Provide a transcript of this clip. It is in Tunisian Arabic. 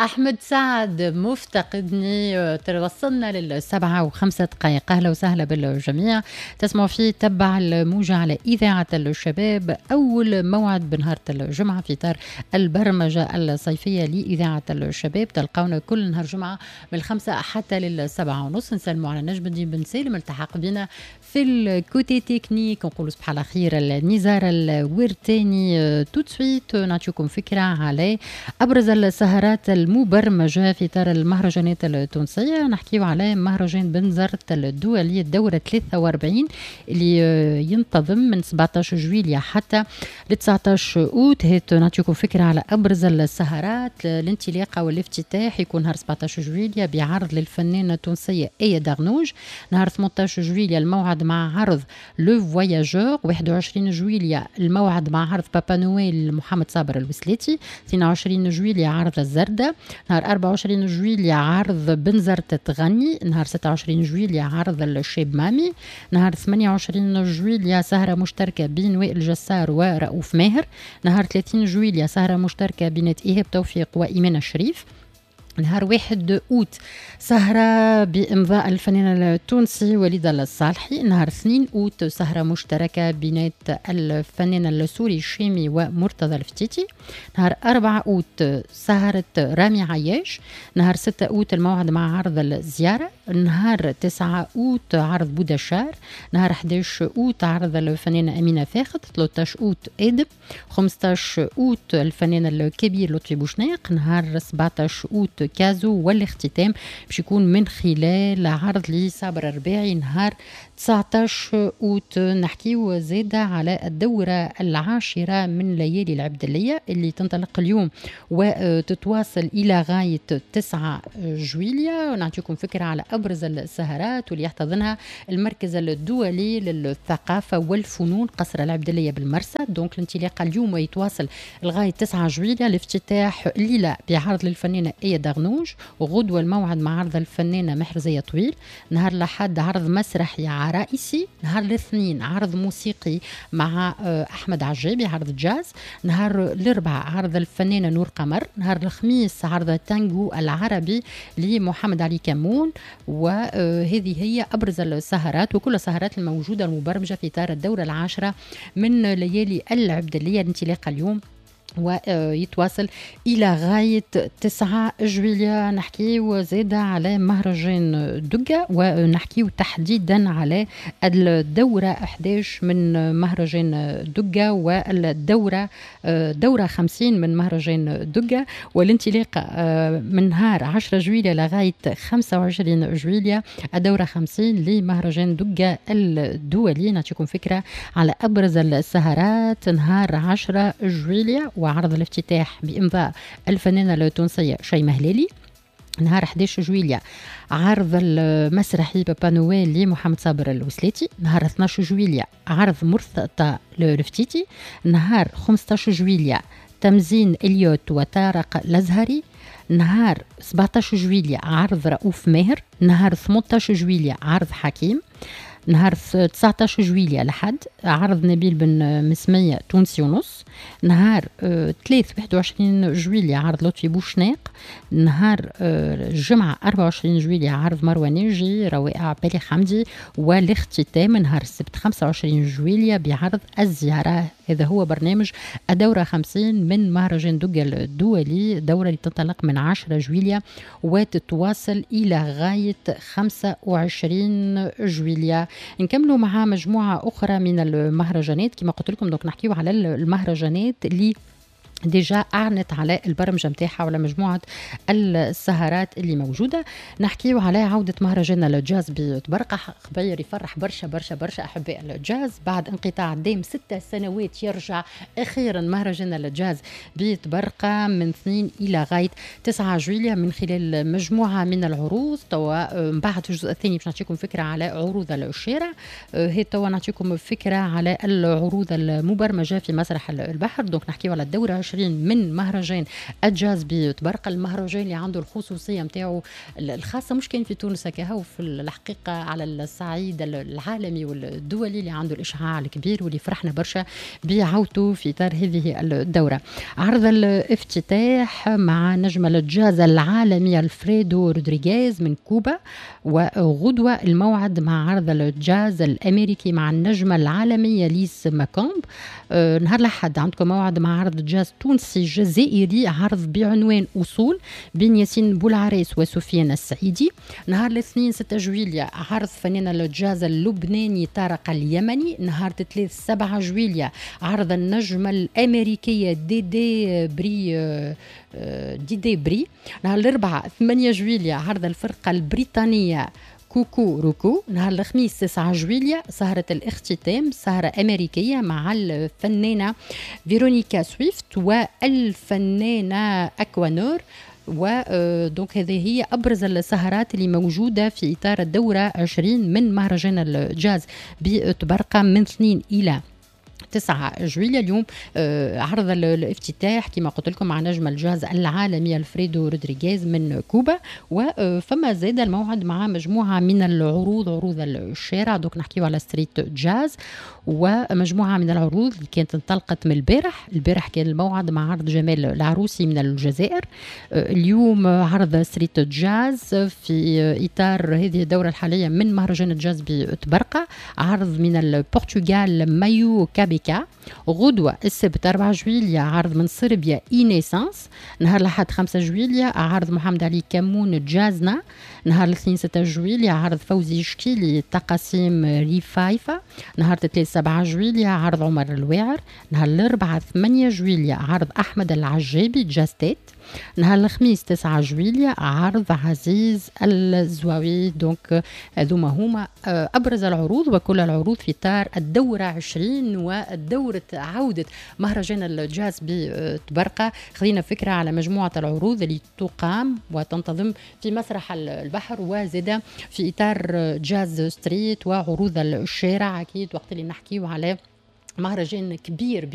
أحمد سعد مفتقدني. وصلنا 7:05. أهلا وسهلا بالجميع. تسمعوا في تبع الموجة على إذاعة الشباب، أول موعد بنهار الجمعة في إطار البرمجة الصيفية لإذاعة الشباب. تلقونا كل نهار جمعة من 5 حتى 7:30. نسلموا على نجم الدين بن سالم التحق بنا في ال côté technique. نقولوا صباح على خير النزار الورتاني. tout de suite نعطيكم فكرة على أبرز السهرات المبرمجة في إطار المهرجانات التونسية. نحكيو على مهرجان بنزرت الدولي الدورة 43 اللي ينتظم من 17 جويلية حتى ل 19 أوت. هات نعطيكم فكرة على أبرز السهرات. الانطلاقة والافتتاح يكون نهار 17 جويلية بعرض للفنانة التونسية آية دغنوج. نهار 18 جويلية الموعد مع عرض Le Voyageur. 21 جويلية الموعد مع عرض Papa Noël محمد صابر الوسلاتي. 22 جويلية عرض الزردة. نهار 24 جويلية عرض بنزرت تغني. نهار 26 جويلية عرض الشاب مامي. نهار 28 جويلية سهرة مشتركة بين وائل جسار ورؤوف ماهر. نهار 30 جويلية سهرة مشتركة بين إيهاب توفيق وإيمان الشريف. نهار 1 أوت سهرة بإمضاء الفنان التونسي وليد الصالحي. نهار 2 أوت سهرة مشتركة بين الفنان السوري الشامي ومرتضى الفتيتي. نهار 4 أوت سهرة رامي عياش. نهار 6 أوت الموعد مع عرض الزيارة. نهار 9 أوت عرض بودشار. نهار 11 أوت عرض الفنانة أمينة فاخت. 13 أوت آدم. 15 أوت الفنان الكبير لطفي بوشناق. نهار 17 أوت كازو. والاختتام باش يكون من خلال عرض لصابر الرباعي نهار 19 أوت. نحكيو زادة على الدورة العاشرة من ليالي العبدلية اللي تنطلق اليوم وتتواصل إلى غاية 9 جويلية. ونعطيكم فكرة على أبرز السهرات واللي يحتضنها المركز الدولي للثقافة والفنون قصر العبدلية بالمرسى. donc الانطلاقة اليوم ويتواصل لغاية 9 جويلية. الافتتاح الليلة بعرض للفنانة آية دغنوج، وغدوة الموعد مع عرض الفنانة محرزية طويل. نهار الأحد عرض مسرحي عرائسي. نهار الاثنين عرض موسيقي مع أحمد عجابي عرض جاز. نهار الأربعاء عرض الفنانة نور قمر. نهار الخميس عرض التانجو العربي لمحمد علي كمون. وهذه هي أبرز السهرات وكل السهرات الموجودة المبرمجة في إطار الدورة العاشرة من ليالي العبدلية. الانطلاقة اليوم ويتواصل إلى غاية 9 جويلية. نحكيو زادة على مهرجان دقة، ونحكيو تحديدا على الدورة 11 من مهرجان دقة والدورة دورة 50 من مهرجان دقة. والانطلاقة من نهار 10 جويلية لغاية 25 جويلية الدورة 50 لمهرجان دقة الدولي. نعطيكم فكرة على أبرز السهرات. نهار 10 جويلية وعرض الافتتاح بإمضاء الفنانة التونسية شيماء هلالي. نهار 11 جويلية عرض المسرحي Papa Noël لمحمد صابر الوسلاتي. نهار 12 جويلية عرض مرتضى الفتيتي. نهار 15 جويلية تمزين إليوت وطارق الأزهري. نهار 17 جويلية عرض رؤوف ماهر. نهار 18 جويلية عرض حكيم. نهار 19 جويلية لحد عرض نبيل بن مسمية تونسي ونص. نهار 3 21 جويلية عرض لطفي بوشناق. نهار الجمعة 24 جويلية عرض مروى ناجي روائع بالي حمدي. والاختتام نهار السبت 25 جويلية بعرض الزيارة. هذا هو برنامج الدورة 50 من مهرجان دقة الدولي، دورة اللي تنطلق من 10 جويلية وتتواصل إلى غاية 25 جويلية. نكملوا مع مجموعة أخرى من المهرجانات كما قلت لكم. donc نحكيو على المهرجانات اللي déjà اعلنت على البرمجة نتاعها ولا مجموعة السهرات اللي موجودة. نحكيو على عوده مهرجان الجاز بطبرقه، خبير يفرح برشا برشا برشا احباء الجاز. بعد انقطاع دام 6 سنوات يرجع اخيرا مهرجان الجاز بطبرقه من 2 الى غاية 9 جويلية من خلال مجموعة من العروض. توا من بعد في الجزء الثاني باش نعطيكم فكرة على عروض الشارع. هي توا نعطيكم فكرة على العروض المبرمجه في مسرح البحر. donc نحكيو على الدورة 20 20 من مهرجان الجاز بطبرقة، المهرجان اللي عنده الخصوصية نتاعو الخاصة، مش كان في تونس كهو، في الحقيقة على الصعيد العالمي والدولي، اللي عنده الإشعاع الكبير واللي فرحنا برشا بعودته في إطار هذه الدورة. عرض الافتتاح مع نجم الجاز العالمي الفريدو رودريغيز من كوبا، وغدوة الموعد مع عرض الجاز الأمريكي مع النجمة العالمية ليس ماكومب. نهار الأحد عندكم موعد مع عرض جاز تونسي جزائري، عرض بعنوان أصول بين ياسين بولعريس وسفيان السعيدي. نهار الاثنين 6 جويليا عرض فنان الجاز اللبناني طارق اليمني. نهار الثلاث 7 جويليا عرض النجمة الأمريكية ديدي بري ديدي بري. نهار الأربعاء 8 جويليا عرض الفرقة البريطانية كوكو روكو. نهار الخميس 9 جويليا سهرة الاختتام، سهرة أمريكية مع الفنانة فيرونيكا سويفت والفنانة أكوانور. و donc هذه هي ابرز السهرات اللي موجودة في اطار الدورة 20 من مهرجان الجاز بطبرقه من 2 الى 9 جويليا. اليوم عرض الافتتاح كما قلت لكم مع نجم الجاز العالمي الفريدو رودريغيز من كوبا، وفما زاد الموعد مع مجموعة من العروض، عروض الشارع، donc نحكيو على street jazz، ومجموعة من العروض اللي كانت انطلقت من البارح. البارح كان الموعد مع عرض جمال العروسي من الجزائر. اليوم عرض street jazz في إطار هذه الدورة الحالية من مهرجان الجاز بطبرقة، عرض من البرتغال مايو كابيكا. غدوة السبت 4 جويليا عرض من صربيا إينيسانس. نهار الأحد 5 جويليا عرض محمد علي كمون جازنا. نهار الاثنين 6 جويليا عرض فوزي شكيلي تقاسيم ريفايفا. نهار الثلاث 7 جويليا عرض عمر الواعر. نهار الأربعاء 8 جويليا عرض أحمد العجابي جاستيت. نهار الخميس 9 جويليا عرض عزيز الزواوي. donc هذوما هما أبرز العروض، وكل العروض في إطار الدورة 20 والدورة عودة مهرجان الجاز بطبرقة. خذينا فكرة على مجموعة العروض اللي تقام وتنتظم في مسرح البحر، وزاد في إطار jazz street وعروض الشارع. أكيد وقت اللي نحكيو على مهرجان كبير.